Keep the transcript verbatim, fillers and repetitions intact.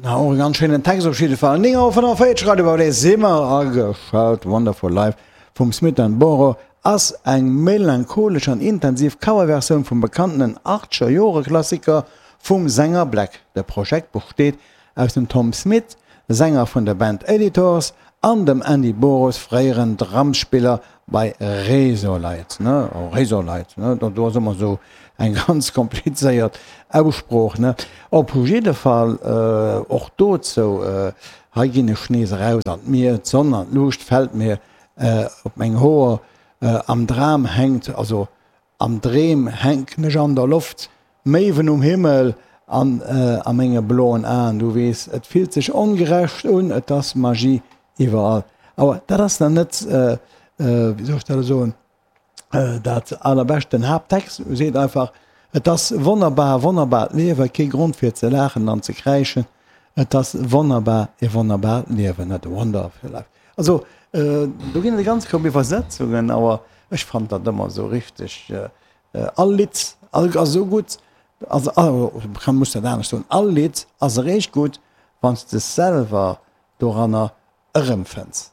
Na, och e ganz schéinen Text op jidde Fall. Néng Auer fënnefenvéierzeg, Radio Baudet si mer ageschalt. Wonderful Life vum Smith and Boro ass eng melancholesch an intensiv Coverversioun vum bekanntenen Achtzeger-Jore-Klassiker vum Sänger Black. De Projekt besteet aus dem Tom Smith, Sänger vun der Band Editors, an dem Andy Boros, fréieren Drumspiller bei Razorlight. Ne, Razorlight, ne, do ass ëmmer esou eng ganz komplizéiert Aussprooch, ne. Op jidde Fall och dozou, hei ginn ech nees eraus an d'Mier, d'Sonn an d'Luucht fält mir op meng Hoer, am Dram hänkt, also am Dreem hänken ech an der Loft, Méiwen um Himmel an a menge bloen Aen, du weess, et fillt sech ongerecht un, et ass Magie iwwerall. Awer dat ass nach net, wéi soll ech dat elo soen, dat allerbescht. Den Haapttext seet einfach, Et ass wonnerbar, wonnerbaart Liewen, kee Grond fir ze laachen an ze kräischen, et ass wonnerbar, e wonnerbaart Liewen, a wonderful life. Also do ginn et e ganz Koup Iwwersetzungen, awer ech fannen dat ëmmer esou richteg, all Lidd ass esou gutt, also kann, muss dat anescht soen, all Lidd ass eréischt gutt, wann s de selwer doranner erëmfënns.